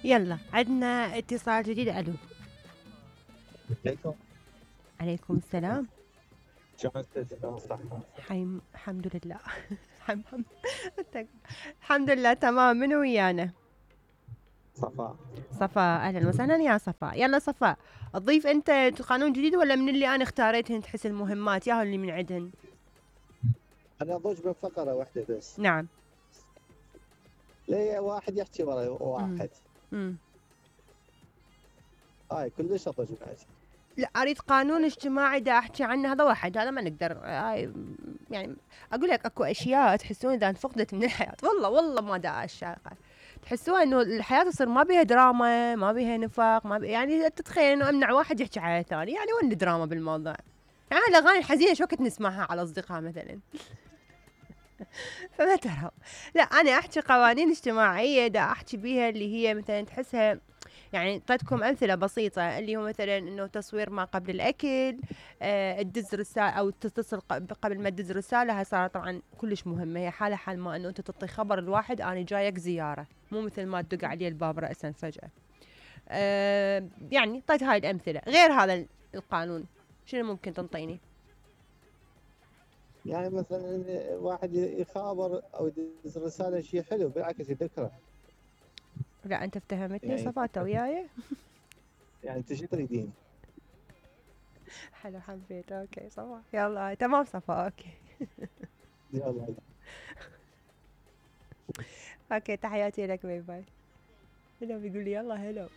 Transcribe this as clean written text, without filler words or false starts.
يلا عندنا اتصال جديد. الو. عليكم. عليكم السلام. شلونك صحة؟ الحمد لله. الحمد لله تمام. منو ويانا؟ صفاء. صفاء، اهلا وسهلا يا صفاء. يلا صفاء، تضيف انت قانون جديد ولا من اللي انا اختاريتهن تحس المهمات ياهو اللي من عندهن؟ أنا أضوج بفقرة واحدة بس. نعم. ليه واحد يحكي ورا واحد. امم هاي كلش أضوج بعد. لا، اريد قانون اجتماعي دا احكي عنه، هذا واحد، هذا ما نقدر. يعني اقول لك اكو اشياء تحسون اذا انفقدت من الحياه، والله ما دا اشاقه، تحسوها انه الحياه تصير ما بيها دراما، ما بيها نفاق، ما بيها يعني تتخيل انه امنع واحد يحكي على الثاني، يعني وين الدراما بالموضوع؟ يعني الاغاني الحزينه شو وقت نسمعها على اصدقاء مثلا. فما ترى. لا، انا احكي قوانين اجتماعيه دا احكي بيها اللي هي مثلا تحسها، يعني اعطيتكم امثله بسيطه اللي هو مثلا انه تصوير ما قبل الاكل، تدز رساله او تتصل قبل ما تدز رساله. هاي صارت طبعا كلش مهمه، هي حاله حال ما انه انت تعطي خبر الواحد انا جايك زياره، مو مثل ما تدق عليه الباب راسا فجاه. يعني اعطيت هاي الامثله. غير هذا القانون شنو ممكن تنطيني؟ يعني مثلا واحد يخابر أو يدز رسالة شيء حلو بالعكس يذكره. لا انت افتهمتني يعني صفاته وياي. يعني أنت شو تريدين؟ حلو، حبيت. اوكي صفا، يلا تمام صفا. اوكي. يلا. اوكي، تحياتي لك. باي باي. هلو بيقول لي يلا. هلو.